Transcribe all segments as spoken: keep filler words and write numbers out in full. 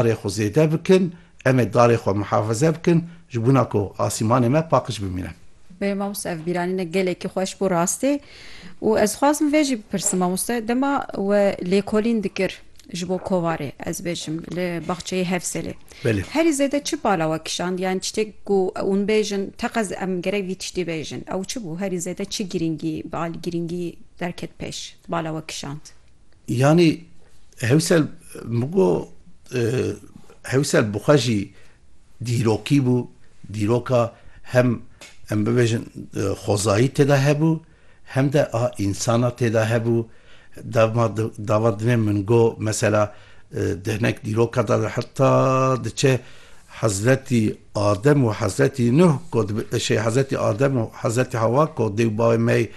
darê xwe zêde bikin, em ê darê xwe muhafaze bikin, ji bona ku asîmanê me paqij bimîne. Belê mamoste, ev bîranîne gelekî xweş bû rastî. Û ez xwazim vê jî bipirsim mamoste, dema we lêkolîn dikir ji bo kovarê, ez bêjim, li baxçeyê Hevselê. Belê. Herî zêde çi bala we kişand? Yani tiştek ku hûn bêjin, teqez em gerek vî tiştî bêjin. Ew çi bû? Herî zêde çi girîngî, bal girîngî derket pêş, bala we kişand? Yani Hewsel, min got, e, Hewsel bi xwe jî dîrokî bû, dîroka hem em bibêjin, e, xwezayî tê de hebû, hem de a însana tê de hebû. Dema di-, dava dinê min got, mesela, e, di hinek dîroka de heta diçe Hezretî Adem û Hezretî Nuh, ku dibe-, şey, Hezretî Adem û Hezretî Hewa, ku dê û bavê me yê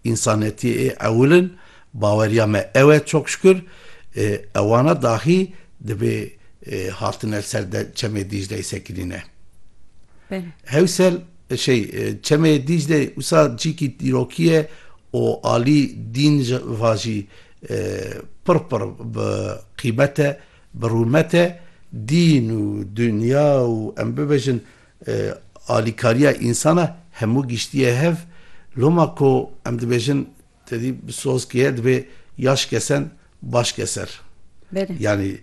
însanetiyê ê ewil in, baweriya me ew e, çok şükür, e, ewana dahî dibê, e, hatine ser de çemê Dîcleyê sekinîne. Belê. Hewsel, e, şey, e, çemê Dîclê wisa cîkî dîrokî ye û alî dîn ji va jî, e, pir pir bi qîmet e, bi rûmet e. Dîn û dinya û em bibêjin, e, alîkariya însana hemû giştiye hev. Loma ku em dibêjin, te dî bi soz kiriye, dibê yaş kesen baş keser. Belê. Yani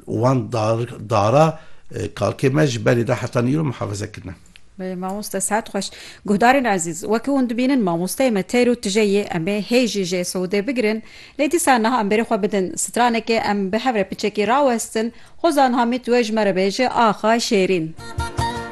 wan dar-, dara, e, kalkê me ji berê de heta nîro muhafaze kirine. Belê, mamoste, saet xweş. Guhdarên ezîz, wekî hûn dibînin, mamosteyê me teyr û tije yê, em ê hê jî jê siûdê bigirin. Lê dîsa niha em berê xwe bidin stranekê, em bi hev re piçekî rawestin. Hozan Hamîd wê ji me re bêje, Axa Şêrîn.